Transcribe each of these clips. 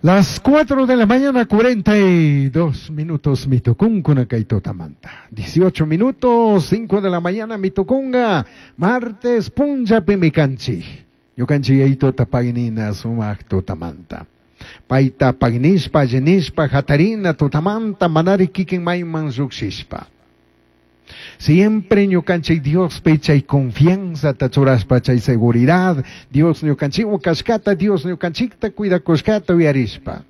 Las 4 de la mañana, 42 minutos, mitukunkuna kay tutamanta. 18 minutos, 5 de la mañana, mitukunga. Martes, punllapi mikanchik. Ñukanchik Yayituta paginina sumak tutamanta. Payta paginishpa, allinishpa, hatarina tutamanta, manari kikin mayman llukshishpa. Siempre ñukanchik Diospi chay confianzata churashpa chay seguridad, Dios ñukanchikwan kashkata, Dios ñukanchikta cuidakushkata uyarishpa.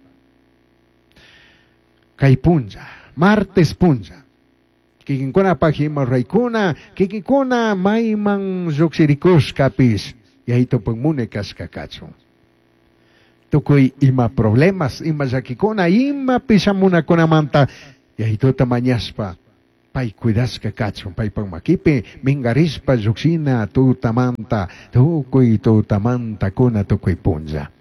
Kay punlla, martes punlla. Kikinkunapaq ima ruraykuna, kikinkuna mayman llukshirikushkapish, Yayitupak munay kashka kachun. Tukuy ima problemas, ima llakikuna, imapi shamunakunamanta Yayituta mañashpa, pay cuidashka kachun, paypak makipi minkarishpa llukshina tutamanta, tukuy tutamanta kuna tukuy punlla.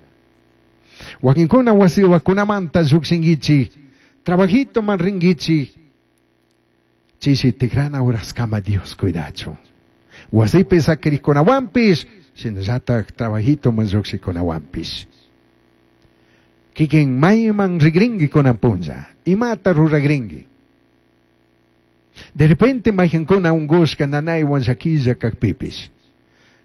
Wakinkuna wasiwakunamanta llukshinkichik, trabajitoman rinkichik, chishi tikrana uraskama Dios cuidachun. Wasipi sakirikunawanpish, shinallatak trabajitoman llukshikunawanpish. Kikin mayman rigrinki kunan punlla, imata ruragrinki. De repente mayqankuna unqushka nanaywan llakilla kakpipish.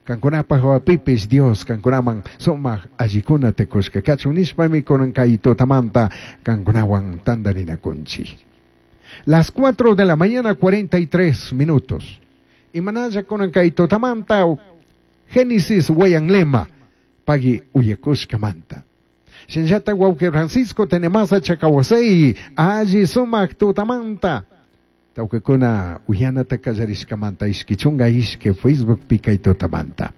Kankunapaj wapipish Dios kankunaman sumaq allikunata kushka kachun nishpami kunan kay tutamanta kankunawan tantarinakunchik. Las 4 de la mañana, 43 minutos. Imanalla kunan kay tutamanta Génesis Wayanlema pagui uyakushkamanta. Shinllata wawqi Francisco Tenemasa Chacawasey alli sumaq tutamanta. Tawqikuna uyanata kallarishkamanta ishki chunga ishki Facebook pi kay tutamanta.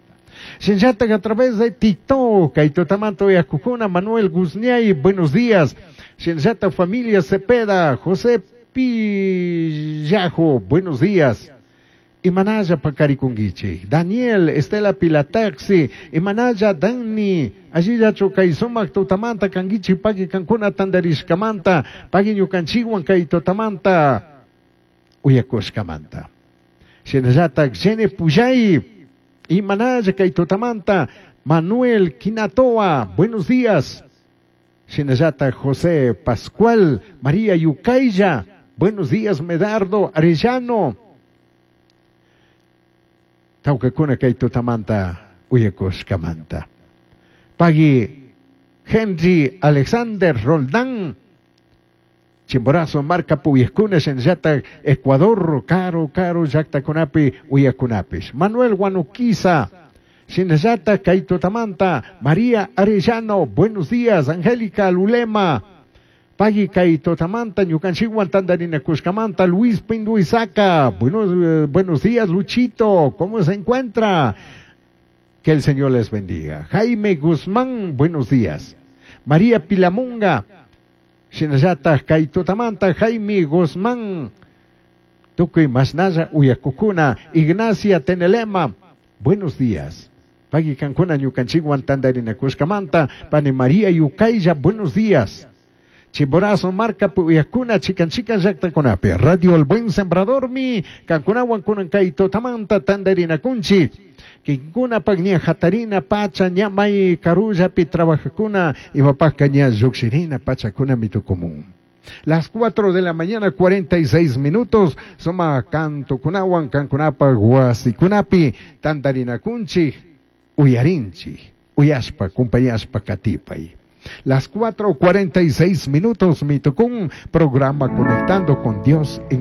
Shinllata a través de TikTok kay tutamanta uyakukuna Manuel Guzniay, buenos días. Shinllata familia Cepeda, José Pillajo, buenos días. Imanalla pakarikunkichik. Daniel, Estela Pilataxi, Imanalla Dani, allillachu kay sumaq tutamanta kankichik paki kankuna tantarishkamanta, paki ñukanchikwan kay tutamanta uyakushkamanta. Shinallatak Jenny Puyay, Imanalla kay tutamanta, Manuel Quinatoa, buenos días. Shinallatak José Pascual, María Yucaya, buenos días Medardo Arellano. Tawkakuna kay tutamanta uyakushkamanta. Pagui Henry Alexander Roldán, Chimborazo marca puyeskuna shinallata Ecuador, Caro, Caro, llaktakunapi uyakunapish. Manuel Guanuquiza, shinallata kay tutamanta, María Arellano, buenos días, Angélica Lulema, Pagui kay tutamanta, ñukanchikwan tantarinakushkamanta, Luis Pinduizaca, buenos días, Luchito, ¿cómo se encuentra? Que el Señor les bendiga. Jaime Guzmán, buenos días. María Pilamunga, shinallata kay tutamanta, Jaime Guzmán, tukuy masnalla uyakukuna, Ignacia Tenelema, buenos días. Pagui kankuna ñukanchikwan tantarinakushkamanta, Pani María Yucaya, buenos días. Chimborazo marca puyakuna chikan chikan llaktakunapi. Radio El Buen Sembrador mi kankunawan kunan kay tutamanta tantarinakunchik. Kinkuna ña hatarina pacha ña may karullapi trabajakuna imapajka ña llukshirina pachakuna mitukumun. Las 4 de la mañana, 46 minutos, suma kantukunawan kankunapa wasikunapi tantarinakunchik, uyarinchik, uyashpa, kumpayashpa katipay. Las 4:46 minutos, Mitucún, programa Conectando con Dios en